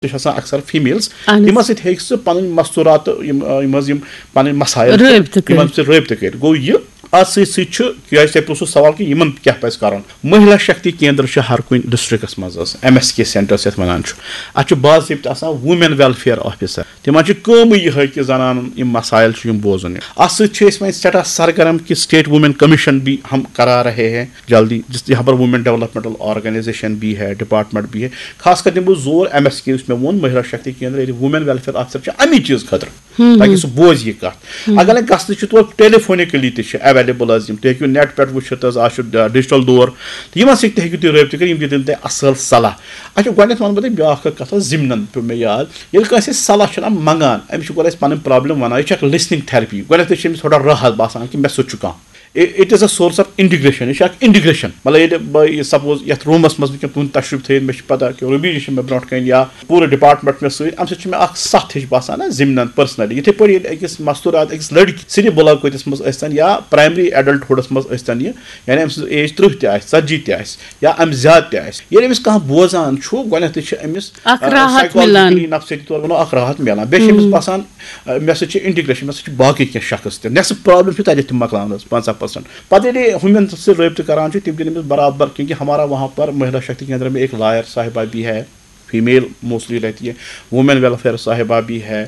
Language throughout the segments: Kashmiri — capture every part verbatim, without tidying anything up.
تہِ چھِ آسان اکثر فیمیلز، اہن حظ۔ یِمن سۭتۍ ہیٚکہِ سُہ پنٕنۍ مستورات، یِم آ، یِم حظ یِم پنٕنۍ مسائل چھِ، رٲبطہٕ کٔرِتھ۔ یِمن سۭتۍ رٲبطہٕ کٔرِتھ۔ گوٚو یہِ اتھ سۭتۍ سۭتۍ چھُ، کیازِ تۄہہِ پرٛژھوُ سوال کہِ یِمن کیٛاہ پزِ کرُن۔ مہیلا شکتی کیندر چھِ ہر کُنہِ ڈسٹرکٹس منٛز حظ، ایم ایس کے سینٹر یتھ ونان چھُ۔ اتھ چھُ باضٲبطہٕ آسان وومین ویلفیئر آفیسر۔ تِمن چھِ کٲمٕے یِہے کہِ زنانن یِم مسائل چھِ یِم بوزُن۔ اتھ سۭتۍ چھِ أسۍ وۄنۍ سٮ۪ٹھاہ سرگرم کہِ اسٹیٹ وومین کمیشن بھی ہم کرا رہے ہیں جلدی، جس یہاں پر وومین ڈیولپمنٹل آرگنائزیشن بھی ہے، ڈپارٹمنٹ بھی ہے۔ خاص کر دِمہٕ بہٕ زور ایم ایس کے یُس مےٚ ووٚن، مہیلا شکتی کیندر، ییٚلہِ وومین ویلفیئر آفیسر چھِ امی چیٖز خٲطرٕ، تاکہِ سُہ بوزِ یہِ کتھ۔ اگر نہٕ گژھنہٕ چھِ تور ٹیلی فونکلی تہِ چھِ ایویلیبل حظ یِم، تُہۍ ہیٚکِو نیٹ پٮ۪ٹھ وٕچھِتھ حظ، آز چھُ ڈیجیٹل دور، تہٕ یِمن سۭتۍ تہِ ہیٚکِو تُہۍ رٲبطہٕ کٔرِتھ، یِم تہِ دِن تۄہہِ اصل صلاح۔ اچھا، گۄڈٕنٮ۪تھ ونہٕ بہٕ تۄہہِ بیٛاکھ اکھ کتھ حظ، ضمنن پیوٚو مےٚ یاد، ییٚلہِ کٲنٛسہِ أسۍ صلاح چھِنہ منٛگان، أمِس چھِ گۄڈٕ اَسہِ پنٕنۍ پرابلم ونان، یہِ چھِ اکھ لسننگ تھرپی۔ گۄڈٕنٮ۪تھٕے چھِ أمِس تھوڑا راحت باسان کہِ مےٚ سۭتۍ چھُ کانٛہہ۔ It is a source of integration، یہِ چھِ اکھ انٹیگریشن۔ مطلب ییٚلہِ بہٕ یہِ سپوز یتھ روٗمس منٛز وٕنکیٚن تُہُنٛد تشریف تھٲیِتھ، مےٚ چھِ پتہ کہِ رُبی جی چھِ مےٚ برونٛٹھ کنہِ یا پوٗرٕ ڈپارٹمنٹ مےٚ سۭتۍ، امہِ سۭتۍ چھُ مےٚ اکھ سَتھ ہِش باسان نا ضمنن پرسنلی۔ یِتھے پٲٹھۍ ییٚلہِ أکِس مستورات، أکِس لڑکی سِنہِ بُلاگوتِس منٛز ٲسۍ تن یا پرایمری ایڈلٹ ہُڈس منٛز ٲسۍ تن یہِ، یعنی أمۍ سٕنٛز ایج ترٕٛہ تہِ آسہِ، ژتجی تہِ آسہِ یا امہِ زیادٕ تہِ آسہِ، ییٚلہِ أمِس کانٛہہ بوزان چھُ، گۄڈٕنیتھٕے چھِ أمِس اکھ آ، راحت psychologically مِلان۔ نفسیٲتی طور ونو اکھ راحت مِلان۔ بیٚیہِ چھِ أمِس باسان، آ، مےٚ سۭتۍ چھِ انٹیگریشن، مےٚ سۭتۍ چھِ باقٕے کینٛہہ شخص تہِ۔ نٮ۪صٕف پرابلم چھِ تتہِ تہِ مۄکلان حظ، پنٛژاہ پرسنٹ۔ پتہٕ ییٚلہِ ہُمن سۭتۍ رٲبطہٕ کران چھِ، تِم دِن أمِس برابر، کیونکہ ہمارا وہاں پر مہیلا شکتی کیندر میں ایک لائر صاحبہ بھی ہے، فیمیل موسٹلی رہتی ہے، وومین ویلفیئر صاحبہ بھی ہے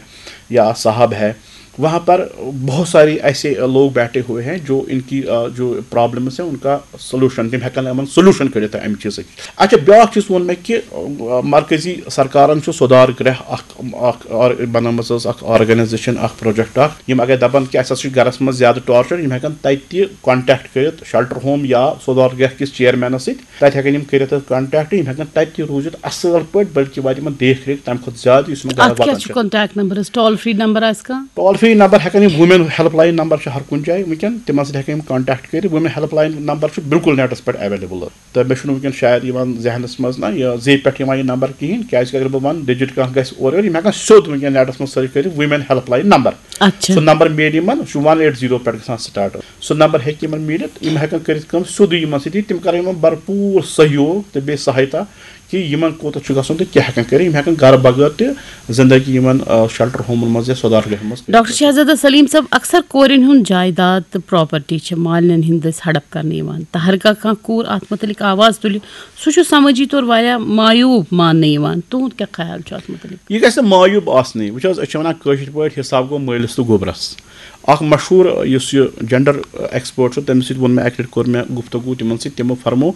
یا صاحب ہے۔ وہاں پر بہت ساری ایسے لوگ بیٹھے ہوئے ہیں جو ان کی، آ، جو پرابلمس ہیں ان کا سولوشن، تِم ہٮ۪کن یِمن سولوشن کٔڑِتھ امہِ چیٖزٕکۍ۔ اچھا، بیٛاکھ چیٖز ووٚن مےٚ کہِ، آ، مرکزی سرکارن چھُ سُدھار گرہ اکھ، اکھ آر-، بنٲومٕژ حظ اکھ آرگنائزیشن، اکھ پروجیکٹ اکھ۔ یِم اگر دپان کہِ اسہِ ہسا چھُ گرس منٛز زیادٕ ٹارچر، یِم ہٮ۪کن تتہِ تہِ کانٹیکٹ کٔرِتھ شیلٹر ہوم یا سُدھار گرہ کِس چیئرمینس سۭتۍ۔ تتہِ ہٮ۪کن یِم کٔرِتھ حظ کانٹیکٹ، یِم ہٮ۪کن تتہِ تہِ روٗزِتھ اصل پٲٹھۍ، بلکہِ واتہِ یِمن دیکھ ریکھ تمہِ کھۄتہٕ زیادٕ یُس یِمن گرس اتھ کیٛاہ واتان چھُ چھُ۔ کانٹیکٹ نمبر حظ؟ ٹول فری نمبر آسہِ کانٛہہ؟ ٹول فری نمبر ہٮ۪کن یِم، وومین ہیلپ لاین نمبر چھُ ہر کُنہِ جایہِ وٕنکیٚن، تِمن سۭتۍ ہٮ۪کن یِم کانٹیکٹ کٔرِتھ۔ وومین ہیلپ لاین نمبر چھُ بالکل نیٹس پٮ۪ٹھ ایویلیبل۔ تہٕ مےٚ چھُنہٕ وٕنکیٚن شاید یِوان ذہنس منٛز نہ یہِ زے پٮ۪ٹھ یِوان یہِ نمبر کِہینۍ، کیازِ کہِ اگر بہٕ ونہٕ ڈیجٹ کانٛہہ گژھِ اورٕ یورٕ، یِم ہٮ۪کن سیوٚد وٕنکیٚن نیٹس منٛز سٔرچ کٔرِتھ وومین ہیلپ لاین نمبر۔ اچھا۔ سُہ نمبر میلہِ یِمن، سُہ چھُ ون ایٹ زیٖرو پٮ۪ٹھ گژھان سٹارٹ۔ سُہ نمبر ہیٚکہِ یِمن میٖلِتھ، یِم ہٮ۪کن کٔرِتھ کٲم سیوٚدُے یِمن سۭتۍ، تِم کرن یِمن بھرپوٗر سہیوگ تہٕ بیٚیہِ سہایتا کہِ یِمن کوٗتاہ چھُ گژھُن تہٕ کیٛاہ ہٮ۪کن کٔرِتھ، یِم ہٮ۪کن گرٕ بغٲر تہِ زندگی یِمن، آ، شیلٹر ہومن منٛز یا سُدھار گرن منٛز کٔرِتھ۔ ڈاکٹر شہزادہ سلیم صٲب، اکثر کورٮ۪ن ہُنٛد جائیداد تہٕ پراپرٹی چھِ مالٮ۪ن ہٕنٛدۍ دٔسۍ ہڑپ کرنہٕ یِوان، تہٕ ہر کانٛہہ کانٛہہ کوٗر اتھ متعلق آواز تُلہِ، سُہ چھُ سمٲجی طور واریاہ معیوب ماننہٕ یِوان۔ تُہُنٛد کیٛاہ خیال چھُ اتھ متعلق؟ یہِ گژھِ نہٕ معیوب آسنٕے۔ وٕچھ حظ، أسۍ چھِ وَنان کٲشِر پٲٹھۍ، حِساب گوٚو مٲلِس تہٕ گوٚبرَس۔ اَکھ مشہوٗر، یُس یہِ جینڈر ایکسپٲرٹ چھُ، تٔمِس سۭتۍ ووٚن مےٚ، اَکہِ لَٹہِ کوٚر مےٚ گفتگو تِمَن سۭتۍ، تِمو فرمو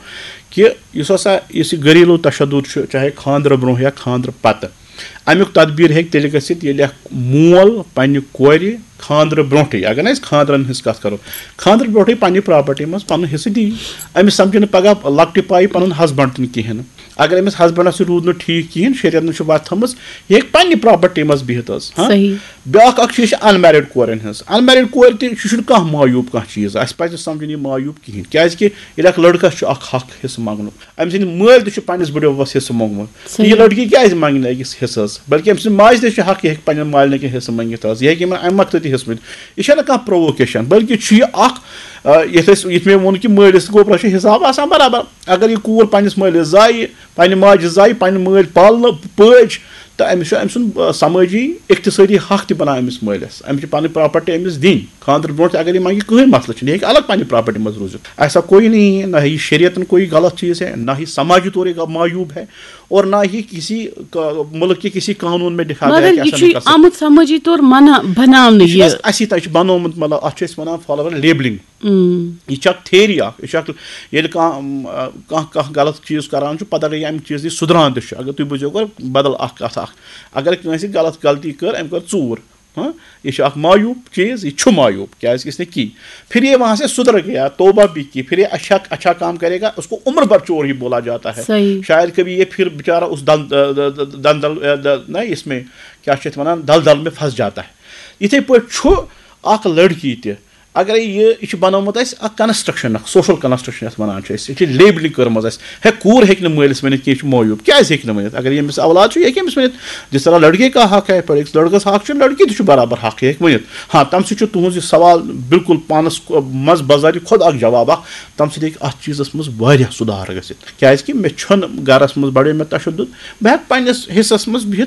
کہِ یُس ہسا یُس یہِ گھریلو تشدد چھُ، چاہے خانٛدرٕ برونٛہہ یا خانٛدرٕ پَتہٕ، اَمیُک تدبیٖر ہیٚکہِ تیٚلہِ گٔژھِتھ، ییٚلہِ اَکھ مول پنٛنہِ کورِ خانٛدرٕ برونٛٹھٕے، اگر نہٕ أسۍ خانٛدرَن ہٕنٛز کَتھ کَرو، خانٛدرٕ برونٛٹھٕے پنٛنہِ پراپرٹی منٛز پَنُن حِصہٕ دِیہِ۔ أمِس سَمکھِ نہٕ پَگاہ لۄکٹہِ پایہِ پَنُن ہسبنٛڈ تہِ نہٕ کِہیٖنۍ نہٕ۔ اگر أمِس ہسبنڈس سۭتۍ روٗد نہٕ ٹھیٖک کِہیٖنۍ، شریعتن چھِ وَتھ تھٲومٕژ، یہِ ہیٚکہِ پننہِ پراپرٹی منٛز بِہِتھ حظ۔ ہاں؟ صحیح۔ بیٛاکھ اکھ چیٖز چھِ انمیرڈ کورٮ۪ن ہٕنٛز۔ انمیرڈ کورِ تہِ، یہِ چھُنہٕ کانٛہہ معیوب کانٛہہ چیٖز، اَسہِ پَزِ نہٕ سمجھُن یہِ معیوب کِہیٖنۍ، کیازِ کہِ ییٚلہِ اکھ لڑکس چھُ اکھ حق حصہٕ منٛگنُک، أمۍ سٕنٛدِ مٲلۍ تہِ چھُ پننِس بٕڈِببس حصہٕ موٚنگمُت، تہٕ یہِ صحیح۔ لڑکی کیازِ منٛگہِ نہٕ أکِس حصہٕ حظ؟ بلکہِ أمۍ سٕنٛدِ ماجہِ تہِ چھُ حق، یہِ ہیٚکہِ پننٮ۪ن مالٮ۪ن کینٛہہ حصہٕ مٔنگِتھ حظ، یہِ ہیٚکہِ یِمن امہِ مقطعہٕ تہِ حصہٕ مٔنگِتھ۔ یہِ چھَنہٕ کانٛہہ پروووکیشن، بلکہِ چھُ یہِ اکھ، آ، یتھ أسۍ، یتھ مےٚ ووٚن کہِ مٲلِس تہٕ گوبرس چھُ حساب آسان برابر۔ اگر یہِ کوٗر پننِس مٲلِس زایہِ، پننہِ ماجہِ زایہِ، پننہِ مٲلۍ پالنہٕ پٲج، تہٕ أمِس چھُ أمۍ سُنٛد، آ، سمٲجی اقتصٲدی حق تہِ بنان أمِس مٲلِس۔ أمِس چھِ پنٕنۍ پراپرٹی أمِس دِنۍ۔ خانٛدرٕ برونٛٹھ تہِ اگر یہِ منٛگہِ، کٕہٕنۍ مسلہٕ چھُنہٕ، یہِ ہیٚکہِ الگ پننہِ پراپرٹی منٛز روٗزِتھ۔ ایسا کوئی نہیں ہے، نہ ہی شریعتن کوئی غلط چیز ہے، نہ ہی سماجی طور یہ معیوب ہے، اور نہ ہی کسی کا-، ملک کے کسی قانون میں لکھا گیا مگر کہ یہِ ایسا چھُ نہیں کر سکتے۔ آمُت سمٲجی طور منع بناونہٕ یہِ چھُ یہِ۔ اَسہِ، اَسی تہِ چھُ بنومُت، مطلب، اَتھ چھُ أسۍ وَنان فالوور لیبلنگ۔ اۭں۔ یہِ چھِ اکھ تھیری اکھ، یہِ چھِ اکھ، ییٚلہِ کانٛہہ، کانٛہہ، کانٛہہ غلط چیٖز کران چھُ، پتہٕ اگر یہِ اَمہِ چیٖز نِش سُدھران تہِ چھُ، اگر تُہۍ بوٗزِو گۄڈٕ بدل اکھ کتھ اکھ، اگر کٲنٛسہِ غلط غلطی کٔر، أمۍ کٔر ژوٗر، ہاں، یہِ چھُ اکھ معیوب چیٖز، یہِ چھُ معیوب، کیازِ کہِ اس نے کی۔ پھر یہ وہاں سے سدھر گیا، توبہ بھی کی، پھر یہ اچھا، اچھا کام کرے گا، اس کو عمر بھر چور ہی بولا جاتا ہے۔ صحیح۔ شاید کبھی یہ پھر بیچارہ اس دن، دندل، نہ، اس میں کیا چھِ اَتھ وَنان، دلدل میں پھنس جاتا ہے۔ یِتھے پٲٹھۍ چھُ اکھ لڑکی تہِ، اگرے یہِ یہِ چھُ بنومُت اَسہِ اکھ کنسٹرکشن، اکھ سوشل کنسٹرکشن یتھ ونان چھِ أسۍ، یہِ چھِ لیبلنگ کٔرمٕژ اَسہِ۔ ہے، کوٗر ہیٚکہِ نہٕ مٲلِس ؤنِتھ کینٛہہ، یہِ چھُ معیوٗب۔ کیازِ ہیٚکہِ نہٕ ؤنِتھ؟ اگر ییٚمِس اولاد چھُ، یہِ ہیٚکہِ أمِس ؤنِتھ۔ جس طرح لڑکے کا حق ہے، پر أکِس لڑکس حق چھُ، لڑکی تہِ چھُ برابر حق، یہِ ہیٚکہِ ؤنِتھ۔ ہاں، تمہِ سۭتۍ چھُ تُہنٛز یہِ سوال بالکل پانس منٛز بذات خود اکھ جواب اکھ۔ تمہِ سۭتۍ ہیٚکہِ اتھ چیٖزس منٛز واریاہ سُدھار گٔژھِتھ، کیازِ کہِ مےٚ چھُنہٕ گرس منٛز بڑیو مےٚ تشدد، بہٕ ہیٚکہٕ پننِس حصس منٛز بِہِتھ